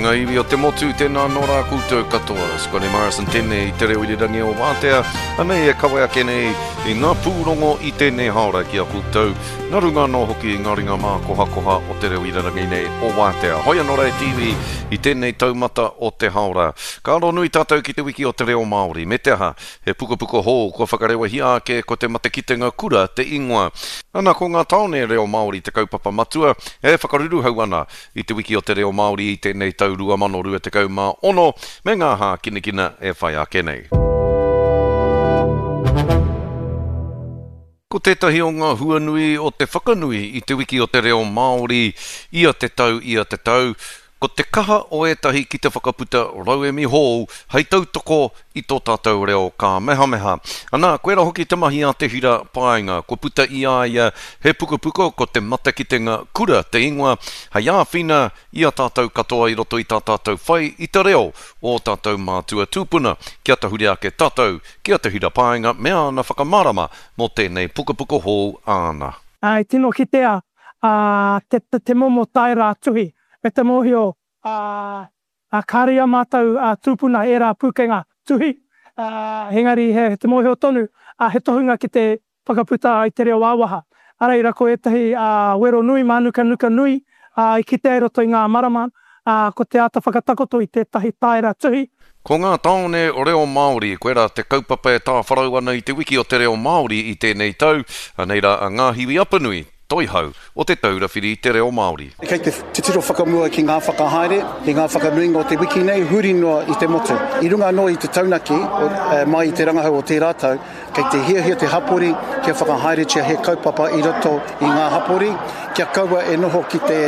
ngā iwi o te motu, tēnā anō rā koutou katoa. Scotty Morrison tēnei i te reo irirangi o Wātea, anei e kawe ake nei i ngā pūrongo i tēnei haora ki a koutou, nā runga anō hoki i ngā ringa mākohakoha o te reo irirangi nei o Wātea. Hoi anō rā e te iwi i tēnei taumata o te haora. Ka aro nui tātou ki te wiki o te reo Māori, me te aha, He pukapuka hou kua whakarewahia ake ko Te Matekitenga Kura te ingoa. Ana ko ngā tāone reo Māori te kaupapa matua e whakaruruhau ana i te Wiki o te Reo Māori i tēnei tau 2026 me ngā hākinakina e whai ake nei. Ko tētahi o ngā huanui o te whakanui i Te Wiki o te Reo Māori ia te tau, ia te tau, ko te kaha o ētahi ki te whakaputa rauemi hou hei tautoko i tō tātou reo kāmehameha. Anā, koirā hoki te mahi a Te Hira Paenga, kua puta i a ia he pukapuka ko Te Matakitenga Kura te ingoa, hei āwhina i a tātou katoa i roto i tā tātou whai i te reo o ō tātou mātua tūpuna, kia tahuri ake tātou ki a Te Hira Paenga me āna whakamārama mō tēnei pukapuka hou āna. I tino kitea te momo taera tuhi me te mōhio kāre i a mātou tūpuna ērā pūkenga tuhi, engari he te mōhio tonu he tohunga ki te whakaputa i te reo ā-waha. Ā reira ko ētahi wero nui, mānukanuka nui i kitea i roto i ngā marama, ko te āta whakatakoto i tētahi taera tuhi. Ko ngā tāone reo Māori, koirā te kaupapa e tāwharau ana i te wiki o te reo Māori i tēnei tau, anei rā a Ngāhiwi Apanui, Toihau o Te Taura Whiri i te Reo Māori. Kei te titiro whakamua ki ngā whakahaere, ki ngā whakanuinga o te wiki nei, huri noa i te motu. I runga anō i te taunaki mai i te rangahau o tērā tau, kei te hiahia te hapori kia whakahaeretia he kaupapa i roto i ngā hapori, kia kaua e noho ki te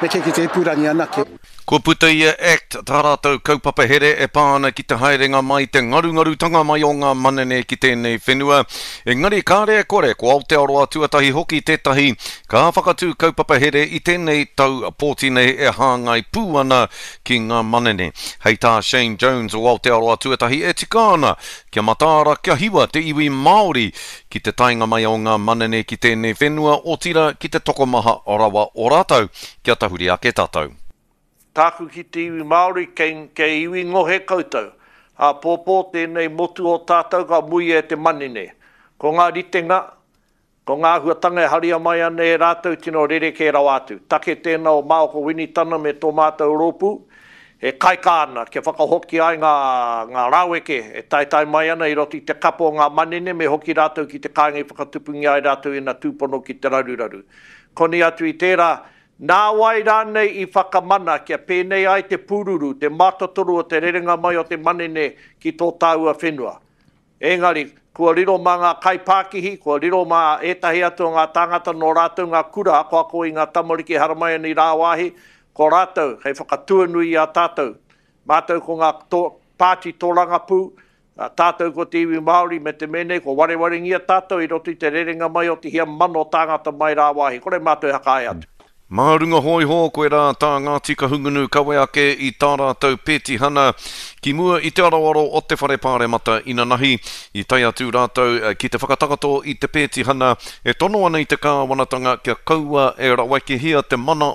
neke ki te ipurangi anake. Kua puta i a act tā rātou kaupapa here e pā ana ki te haerenga mai, te ngarungarutanga mai o ngā manene ki tēnei whenua. Engari kāre e kore, ko Aotearoa tuatahi hoki tētahi ka whakatū kaupapa here i tēnei tau pōti nei e hāngai pū ana ki ngā manene. Hei tā Shane Jones o Aotearoa tuatahi e tika ana kia mataara, kia hiwa te iwi Māori ki te taenga mai o ngā manene ki tēnei whenua, otirā ki te tokomaha rawa o rātou. Kia tahuri ake tātou. Tāku ki te iwi Māori, kei, kei iwi ngohe koutou. Āpōpō tēnei motu o tātou ka muia e te manene. Ko ngā ritenga, ko ngā āhuatanga e haria mai ana e rātou tino rerekē rawa atu. Take tēnā o Maoko Winitana me tō mātou rōpū, e kaikā ana kia whakahokia ai ngā, ngā raweke e taetae mai ana i roto i te kapo o ngā manene me hoki rātou ki te kāinga i whakatupungia ai rātou ina tūpono ki te raruraru. Koni atu i tērā, nā wai rānei i whakamana kia pēnei ai te pūruru, te mātotoru o te rerenga mai o te manene ki tō tāua whenua? Engari, kua riro mā ngā kaipākihi, kua riro mā ētahi atu o ngā tāngata nō rātou ngā kura akoako i ngā tamariki e haramai ana i rāwāhi, ko rātou hei whakatuanui i a tātou. Mātou ko ngā pāti tōrangapū, Ā, tātou ko te iwi Māori me te mea nei, kua warewarengia tātou i roto i te rerenga mai o te hia mano tāngata mai rāwāhi, kore mātou e hakae atu. Mā runga hōiho, koirā tā Ngāti Kahungunu kawe ake i tā rātou pētihana ki mua i te aroaro o te Whare Pāremata inanahi. I tae atu rātou ki te whakatakoto i te pētihana e tono ana i te kāwanatanga kia kaua e rawekehia te mana.